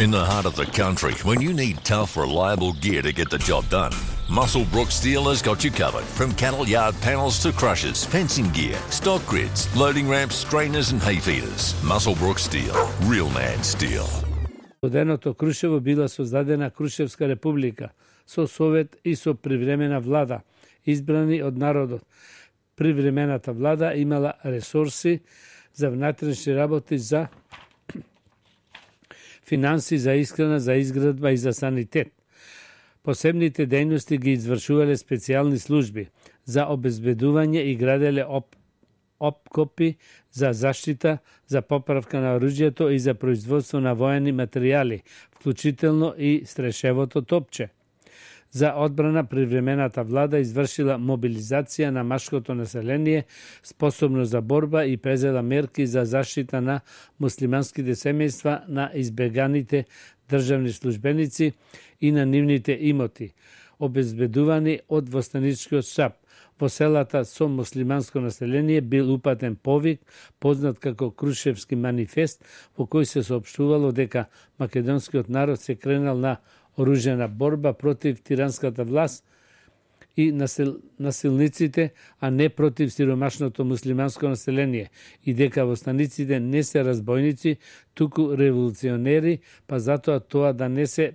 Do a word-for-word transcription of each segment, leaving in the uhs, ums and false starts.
In the heart of the country, when you need tough, reliable gear to get the job done, Musselbrook Steel has got you covered. From cattle yard panels to crushers, fencing gear, stock grids, loading ramps, strainers and hay feeders. Musselbrook Steel. Real man steel. Оденото Крушево била создадена Крушевска република со совет и со привремена влада, избрани од народот. Привремената влада имала ресурси за внатрешни работи, за финанси, за искрана, за изградба и за санитет. Посебните дејности ги извршувале специјални служби за обезбедување и граделе оп, опкопи за заштита, за поправка на оружјето и за производство на воени материјали, вклучително и стрешевото топче. За одбрана привремената влада извршила мобилизација на машкото население способно за борба и презела мерки за заштита на муслиманските семејства, на избеганите државни службеници и на нивните имоти, обезбедувани од востаничкиот штаб. Во селата со муслиманско население бил упатен повик, познат како Крушевски манифест, во кој се соопштувало дека македонскиот народ се кренал на оружена борба против тиранската власт и насил, насилниците, а не против сиромашното муслиманско население, и дека востаниците не се разбойници, туку револуционери, па затоа тоа да не се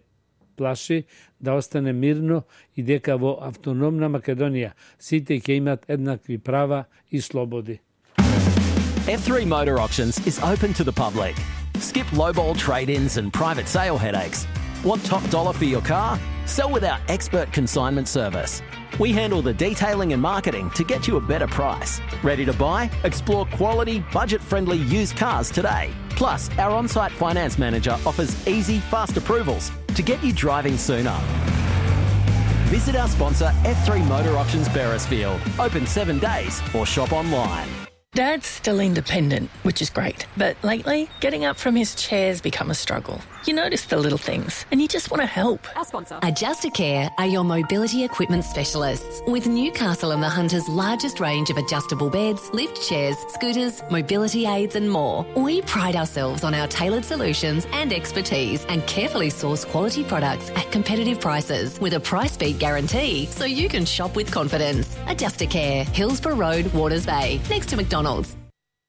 плаши, да остане мирно, и дека во автономна Македонија сите ќе имат еднакви права и слободи. F three Motor Auctions is open to the public. Skip lowball trade-ins and private sale headaches. Want top dollar for your car? Sell with our expert consignment service. We handle the detailing and marketing to get you a better price. Ready to buy? Explore quality, budget-friendly used cars today. Plus, our on-site finance manager offers easy, fast approvals to get you driving sooner. Visit our sponsor F three Motor Auctions Beresfield. Open seven days or shop online. Dad's still independent, which is great. But lately, getting up from his chair's become a struggle. You notice the little things, and you just want to help. Our sponsor. Adjustacare are your mobility equipment specialists. With Newcastle and the Hunter's largest range of adjustable beds, lift chairs, scooters, mobility aids and more, we pride ourselves on our tailored solutions and expertise, and carefully source quality products at competitive prices with a price beat guarantee, so you can shop with confidence. Adjustacare, Hillsborough Road, Waters Bay, next to McDonald's.